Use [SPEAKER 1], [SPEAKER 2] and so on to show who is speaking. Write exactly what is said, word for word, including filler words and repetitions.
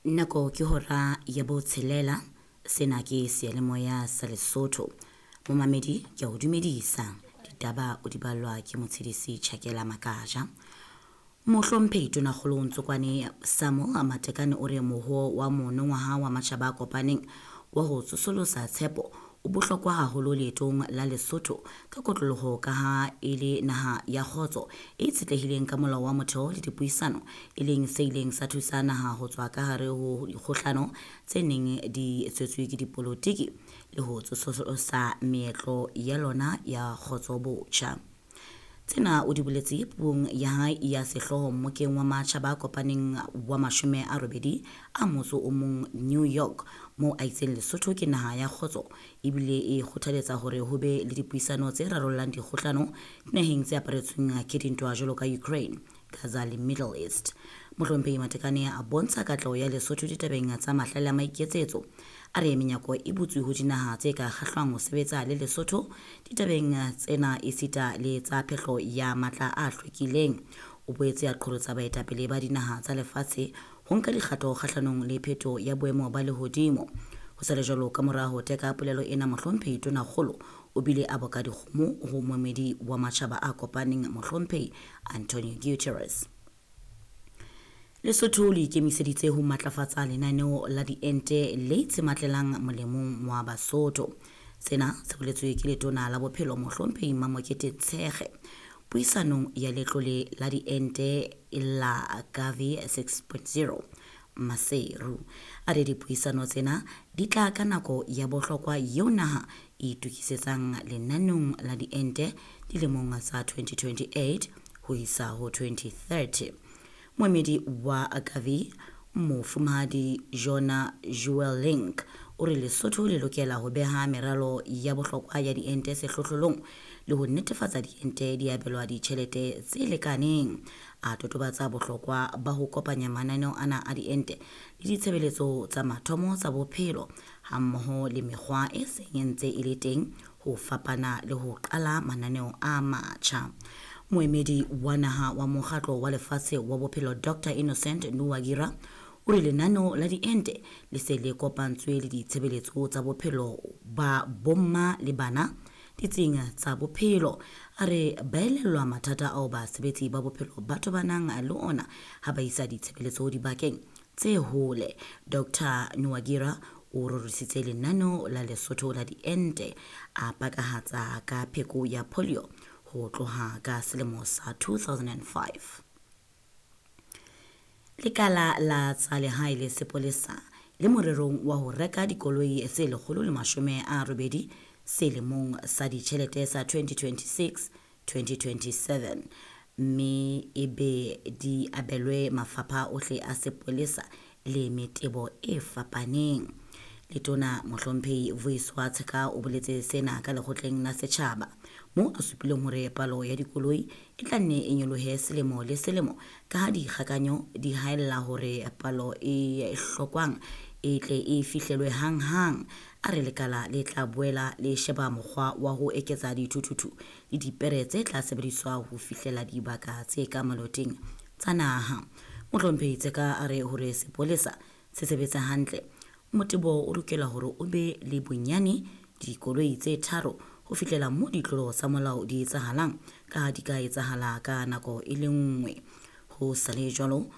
[SPEAKER 1] Nako ke hora ya botshelela. Sena ke seyalemoya sa Lesotho. Momamedi ke a o dumedisa. Ditaba o di ballwa ke motshedisi Chakela Makaja. Mohlomphehi Tonakgolo Ntsokwane Samuel Matekane o re moho wa monongwaha wa matjhaba a kopaneng wa ho tsosolosa tshepo o bohlokwa haholo leetong la Lesotho ka kotloloho ka ha e le naha ya kgotso e itshetlehileng ka molao wa motheo le dipuisano, e leng se ileng sa thusa naha ho tswa ka hare ho dikgohlano tse neng di tswetswe ke dipolotiki le ho tsosolosa meetlo ya lona ya kgotso botjha. Tsena o di boletse puong ya hae ya sehlooho mmokeng wa matjhaba a kopaneng wa mashome a robedi a motso o mong New York, moo a itseng Lesotho ke naha ya kgotso ebile e kgothaletsa hore ho be le dipuisano tse rarollang dikgohlano dinaheng tse aparetsweng ke dintwa jwalo ka Ukraine, Gaza le Middle East. Mohlomphehi Matekane a bontsha katleho ya Lesotho ditabeng tsa mahlale a maiketsetso. A re menyako e butswe ho dinaha tse ka kgahlwang ho sebetsa le Lesotho ditabeng tsena esita le tsa phehlo ya matla a hlwekileng. O boetse a qholotsa baetapele ba dinaha tsa lefatshe ho nka dikgato kgahlanong le phetoho ya boemo ba lehodimo. Ho sa le jwalo, ka mora ho teka polelo ena, Mohlomphehi Tonakgolo o bile a boka dikgomo ho moemedi wa matjhaba a kopaneng Mohlomphehi Antonio Guterres. Lesotho le ikemiseditse ho matlafatsa lenaneo la diente le itshematlelang molemong wa Basotho. Sena se boletswe ke letona la bophelo Mohlomphehi Mamokete Tshekge puisanong ya letlole la diente la Gavi six point zero Maseru. A re dipuisano tsena di tla ka nako ya bohlokwa eo naha e itokisetsang lenaneong la diente dilemong tsa twenty twenty-eight ho isa ho twenty thirty. Moemedi wa Gavi Mofumahadi Jona Juelink o re Lesotho le lokela ho beha meralo ya bohlokwa ya diente sehlohlolong le ho netefatsa diente di abelwa ditjhelete tse lekaneng. A totobatsa bohlokwa ba ho kopanya mananeo ana a diente le ditshebeletso tsa mathomo tsa bophelo hammoho le mekgwa e seng e ntse e le teng ho fapana le ho qala mananeo a matjha. Moemedi wa naha wa mokgatlo wa lefatshe wa bophelo Doctor Innocent Nuwagira o re lenaneo la diente le se le kopantswe le ditshebeletso tsa bophelo ba bomma le bana ditsing tsa bophelo. A re ba elellwa mathata ao basebetsi ba bophelo ba tobanang le ona ha ba isa ditshebeletso dibakeng tse hole. Doctor Nuwagira o rorisitse lenaneo la Lesotho la diente a pakahatsa ka pheko ya polio ho tloha ka selemo sa two thousand and five. Lekala la tsa lehae le sepolesa le morerong wa ho reka dikoloi tse lekgolo le mashome a robedi selemong sa ditjhelete sa twenty twenty-six twenty twenty-seven, mme e be di abelwe mafapha ohle a sepolesa le metebo e fapaneng. Letona Mohlomphehi Vuyiswa Tsheka o boletse sena ka lekgotleng la setjhaba moo a supileng hore palo ya dikoloi e tla nne e nyolohe selemo le selemo ka ha dikgakanyo di haella hore palo e hlokwang e tle e fihlelwe hanghang. A re lekala le tla boela le sheba mokgwa wa ho eketsa dithuthuthu le dipere tse tla sebediswa ho fihlela dibaka tse ka maloteng tsa naha. Mohlomphehi Tsheka a re hore sepolesa se sebetsa hantle, motebo o lokela hore o be le bonyane dikoloi tse tharo ho fihlela moo ditlolo tsa molao di etsahalang ka ha di ka etsahala ka nako e le nngwe. Ho sa le jwalo,